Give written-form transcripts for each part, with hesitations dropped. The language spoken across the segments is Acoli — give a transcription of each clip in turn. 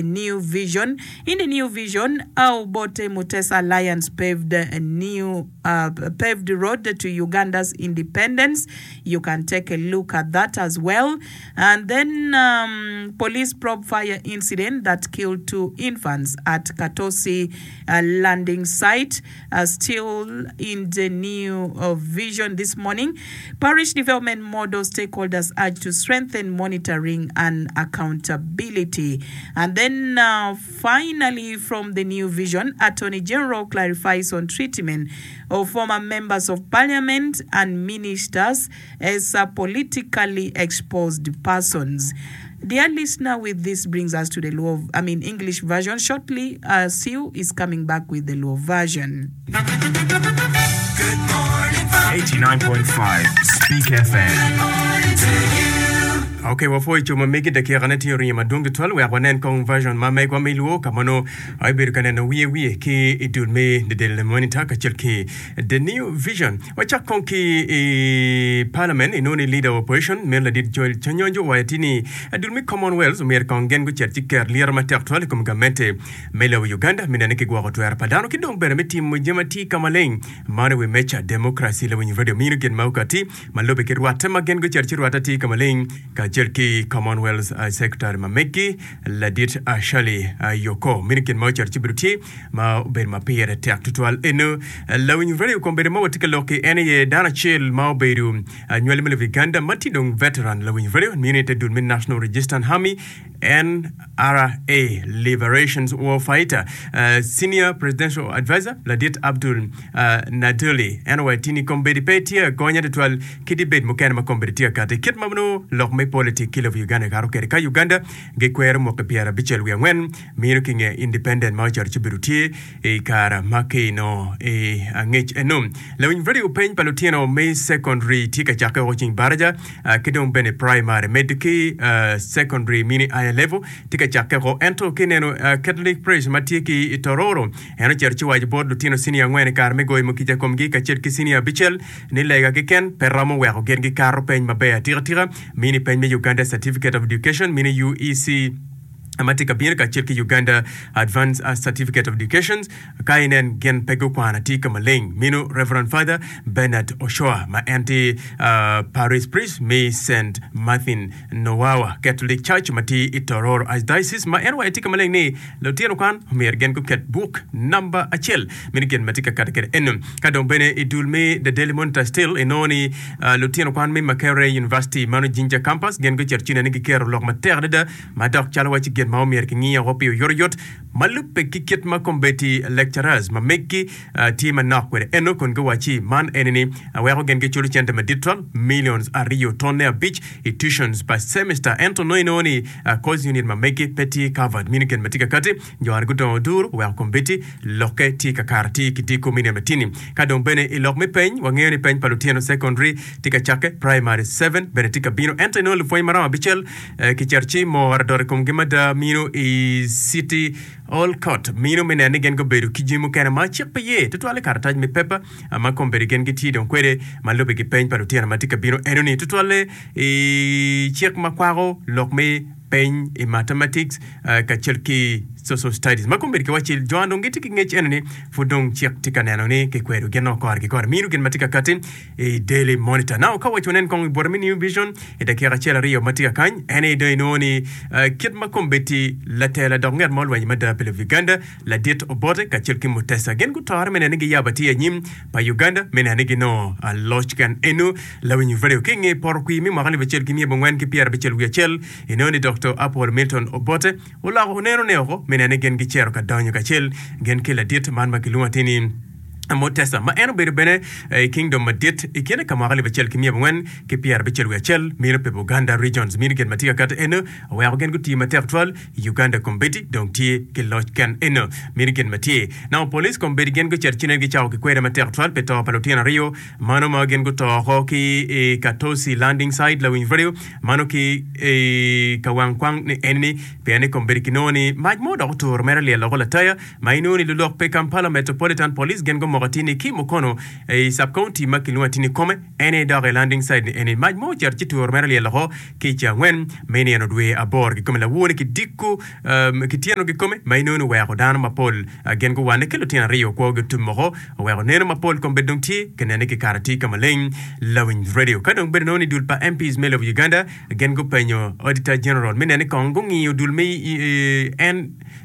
New Vision In the New Vision, Obote Mutesa Alliance paved a new paved road to Uganda's independence. You can take a look at that as well. And then police probe fire incident that killed two infants at Katosi landing site. Still in the New Vision this morning, Parish Development Model stakeholders urged to strengthen monitoring and accountability. And then finally from the New Vision, Attorney General clarifies on treatment of former members of parliament and ministers as politically exposed persons. Dear listener, with this brings us to the Luo, I mean English version. Shortly, uh, Sue is coming back with the Luo version. 89.5 Speak FM. Ok, wapwoyo co ma megi dakikane tye oringo madwong tutwal wek wanen kong version ma megwa me luo ka ma nongo ibedo ka neno wiye wiye ki i dul me The Daily Monitor kacel ki The New Vision. Wacak kong ki i Parliament, inongo ni Leader of Opposition meno ladit Joel Chanyonjo owaco atir ni dul me Commonwealth omyero kong gin gucit ci ket lyeto matek twal i kom gamente me lobo Uganda me neno ni kigwoko twero pa dano ki dong bene me timo jami atir ka maleng man i wi meja democracy. Lawiny radio mino gin ma okati ma lube ki rwatte ma gin gucito ci rwatte atir ka maleng kacel ki Commonwealth Secretary ma megi ladit Shirley Yoko mino gin ma ocito ci bedo tye ma obedo ma pire tek tutwal. Eno lawiny radio kombeddi ma watye ka lok ki en aye dano acel ma obedo anywali me lobo Uganda ma tye dong veteran lawiny radio mine te dul me National Resistance Army NRA Liberations War Fighter Senior Presidential Advisor ladit Abdul Naduli en owaco tye ni kombeddi pe tye agonya tutwal kadi bed mukene ma kombeddi tye ka kati kit ma nongo lok me politik ki lobo Uganda kato kwede ka Uganda gikwero mwaki pyerabicel wiye angwen Mino ki nge independent ma ocito ci obedo tye i kare ma ki nongo i angec eno. Lawiny radio peny pa lutino me secondary tye ka cakke woko ceng baraja ki dong bene primary medo ki secondary mini higher level tye ka cakke woko ento ki neno Catholic Parish ma tye ki i Tororo en ocito ci owaco bot lutino senior angwen i kare me goyo mukica komgi kacel ki senior abicel ni lega keken pe romo weko gin gikato peny maber atika tika mini peny me Uganda Certificate of Education mini UEC ma tye ka bino kacel ki Uganda Advanced Certificate of Education ka inen gin pe gukwano atir ka maleng. Meno Reverend Father Bernard Oshoa ma en tye Parish Priest me Saint Martin Nowawa Catholic Church ma tye i Tororo Archdiocese ma en owaco atir ka maleng ni lutino kwan omyero gin guket buk namba acel meno gin ma tye ka kati kwede eno. Ka dong bene i dul me The Daily Monitor still inongo ni lutino kwan me Makerere University mano Jinja Campus gin gucito ci nene giketo lok matek adada ma dok calo wacci gin ma omyero kingi woko pi oyotoyot ma lubbe ki kit ma kombeddi lecturers ma meggi tye manok kwede eno kun giwacci man eni ni weko gin giculo cente madit twal millions ariyo tonne abic i tuitions pa semester ento nongo inongo ni course unit ma meggi pe tye covered mino gin ma tye kakati jo aryo gudongo oduro oweko kombeddi lokke tye kakare tye ki diko mine matini ka dong bene i lok me peny wangeyo ni peny pa lutino secondary tye ka cakke primary seven bene tye ka bino ento inongo lupwony maromo abicel Kicito ci mor adot i komgi mada mino i City Hall Court mino me neno ni gin gubedo ki jami mukene ma cik pe ye tutwal i karatac me pepa ma kombeddi gin gitye dong kwede ma lubbe ki peny pa lutino ma tye ka bino enoni tutwalle i cik ma kwako lok me peny i mathematics kacel ki social studies ma kombeddi kiwacci jo dong gitye ki ngec enoni pud dong cik tye ka neno ni kikwedo gin kore ki kore mino gin ma tye ka kati i Daily Monitor. Now, ka waco nen kong i bute me New Vision i dakika acel aryo ma tye ka kany, en aye dong inongo ni eh, kit ma kombeddi latela dok nget ma olwenyo mada pi lobo Uganda, ladit Obote kacel ki Mutesa gin gutore me neno ni giyabo atir anyim pa Uganda me neno ni ginongo ah, loc ken eno lawiny radio ki inge poto kwir me mwaka 1961 inongo ni Doktor Apol Milton Obote oloko oneno ne oko me neno ni gin gicito ka donyo kacel gin ki ladit man ma kilwongo atir ni Mutesa, ma en obedo bene i Kingdom madit i kine ka mwaka 1961, mino pi Buganda Regions. Mino gin ma tye ka kati eno oweko gin gutiyo matek twal i Uganda kombeddi dong tye ki loc ken eno. Mino gin ma tye. Nongo police kombeddi gin gucito ci nen gicako ki kweda matek twal pi to pa lutino aryo mano ma gin guto oko ki i Katosi Landing Site lawiny radio mano ki i ka wang kwang ni enini pien ni kombeddi kinongo ni mac mo dok oturo mere lyel oko lataya Ma inongo ni lulok pi Kampala Metropolitan Police gin gumoko. omoko atir ni ki Mukono i sub county ma kilwongo atir ni Kome en aye dok i landing site ni eni mac mo ocito ci turo mere lyel oko ki i cangwen me nino dwe aboro kikome lawor ni kidiko ki tyeno kikome ma inongo ni oweko dano mapol gin guwane ki lutino aryo kwogi otum oko oweko neno mapol kombeddi dong tye ka nene ki kare tye ka maleng lawiny radio ka dong bedo nongo ni dul pa MPs me lobo Uganda gin gupenyo Auditor General me nene kong gungiyo dul me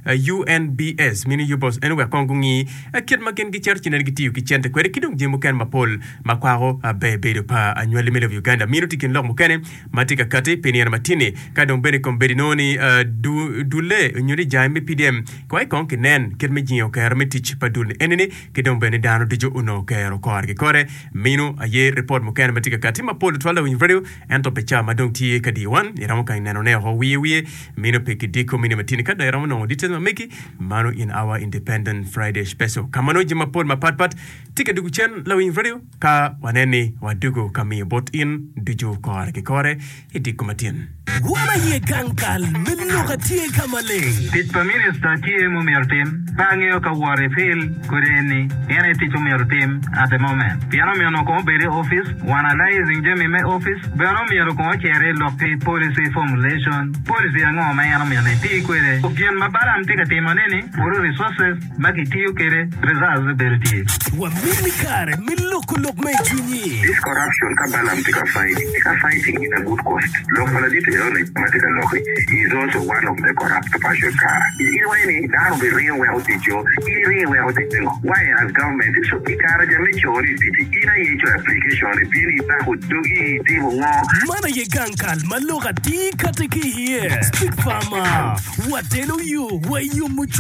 UNBS mini UBOS en wek kong gungi kit ma gin gicito ci nene gitiyo ki cente kwede ki dong jami mukene mapol ma kwako ber bedo pa anywali me lobo Uganda. Mino tye kin lok mukene ma tye ka kati pi nino matini ka dong bene kombeddi nongo ni dulle nyo ni jange me PDM kwayi kong kinen kit me jingo kero me tic pa dul ni enini ki dong bene dano ducu onongo kero kore ki kore. Mino aye ripot mukene ma tye ka kati mapol tutwal lawiny radio ento pi ca ma dong tye ka diyo wan iromo kany neno ne oko wiye wiye mino pe ki diko mino matini ka dong iromo nongo details ma megi mano in our independent Friday special ka ma nongo jami mapol mapat pat tye ka dugo cen lawiny radio ka wanen ni wadugo ka miyo bot in ducu kore ki kore i diko matin. Wan aye gang kal me lok atye ka maleng. Tic pa minista tye ma omyero otim. Pe angeyo ka wot i fil kodi eni en aye tic omyero otim at the moment. Pien omyero onongo kong obed i office, analyzing jami me office, bene omyero kong ocer i lok ki policy formulation, policy ango ma en omyero ni eti kwede. Gin ma Balaam tye ka timo ne ni puro resources ma kitiyo kwede results bedo tye. Wamini kare me loko lok ma i cwinyi. This corruption ka Balaam tye ka fight, tye ka fighting in a good cost. Lok pa ladit eno-ni ma tye ka lok-ki, he is also one of the corrupt person kara. In iwaco ni dano obi ringo weko tic-co, in iringo iweko tic pingo? Why as government so i kare ja me cori i tic-ci in aye icoyo application ibino ibako dogi itimo ngo? Man aye gang kal ma lok atir kati ki iye. Speak Farmer, Watelo yo wa i yomo cwiny.